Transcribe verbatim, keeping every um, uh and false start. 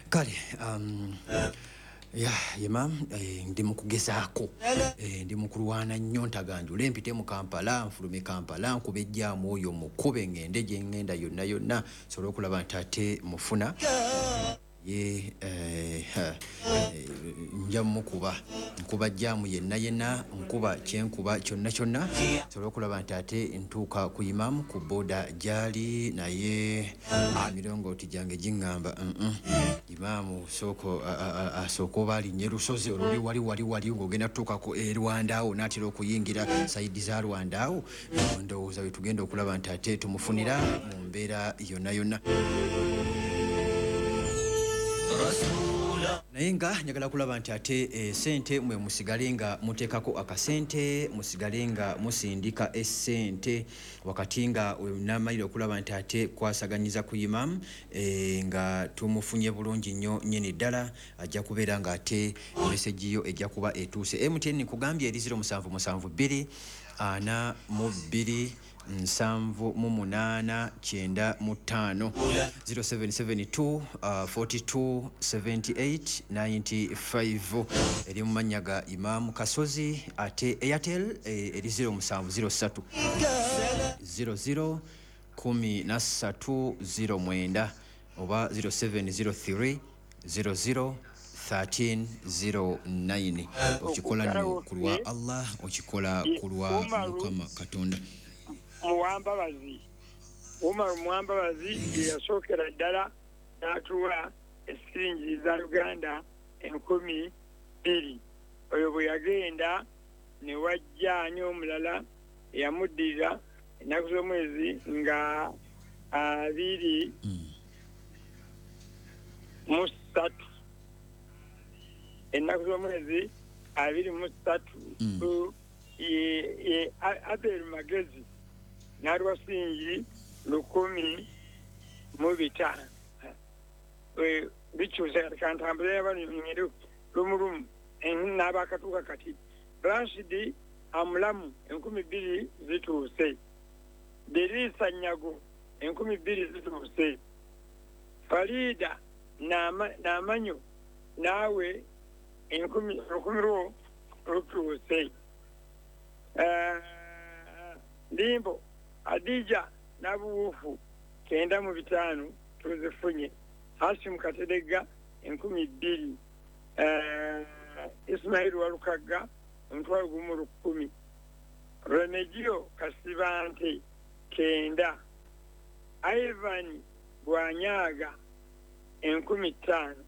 Kale um, ya Imam, eh, ndi mu kugezaako, eh, ndi mu kulwana nnyo ntaganjule mpite mu Kampala, nfulume Kampala, nkube ejjaamu oyo mukube ngende gye ŋŋenda yonna yonna nsobole okulaba nti ate mufuna ye eh, eh, nja mukuba nkuba jjaamu yenna yenna, nkuba kyenkuba kyonna kyonna nsobole okulaba nti ate ntuuka ku Imamu ku boda gyali, naye emirongooti gyange giŋŋamba mm -mm. Imaamu sooko asooka oba alinnye lusozi oluli wali wali wali ng'ogenda tutuukako e Rwanda awo n'atera okuyingira sayidi za Rwanda awo, ndowooza we tugenda okulaba nti ate tumufunira mu mbeera yonna yonna. Naye nga njagala kulaba nti ate esente mwe musigale nga muteekako akasente, musigale nga musindika esente wakati nga namalira okulaba nti ate kwasaganyiza ku Imam e, nga tumufunye bulungi nnyo nnyini ddala, ajja kubeera nga ate meseji yo ejja kuba etuuse. M T N nkugambye eri zero musanvu musanvu bbiri ana mu bbiri nsanvu mu munaana kyenda mu ttaano zero seven seven two uh, forty-two seventy-eight ninety-five eri mu mannya ga Imam Kasozi. Ate Airtel eri zero musanvu zero ssatu zero zero kumi na ssatu zero mwenda oba zero seven zero three zero zero thirteen zero nine. Okikola nno ku lwa Allah, okikola ku lwa Mukama Katonda. Muwambabazi Umaru Muwambabazi ye yasookera ddala n'atuwa esiringi za Uganda enkumi bbiri. Oyo bwe yagenda ne wajja ani omulala eyamuddirira ennaku z'omwezi nga abiri mu ssatu, ennaku z'omwezi abiri mu ssatu ye Abel Magezi n'aliwa siringi lukumi mu bitaano. Bikyuse kati kantambule yabano lumu lumu n'abakatuuka kati. Rashidi Amulamu enkumi bbiri zituuse. Derisa Nyago enkumi bbiri zituuse. Farida Namanyo naawe enkumi lukumi lwo lutuuse. Limbo Adija Nabuwufu kenda mu bitaano tuzifunye. Hashim Kateregga enkumi bbiri. Uh, Ismail Walukagga omutwalo gumu lukumi. Remegio Kasibante kenda. Ivan Bwanyaga enkumi ttaano.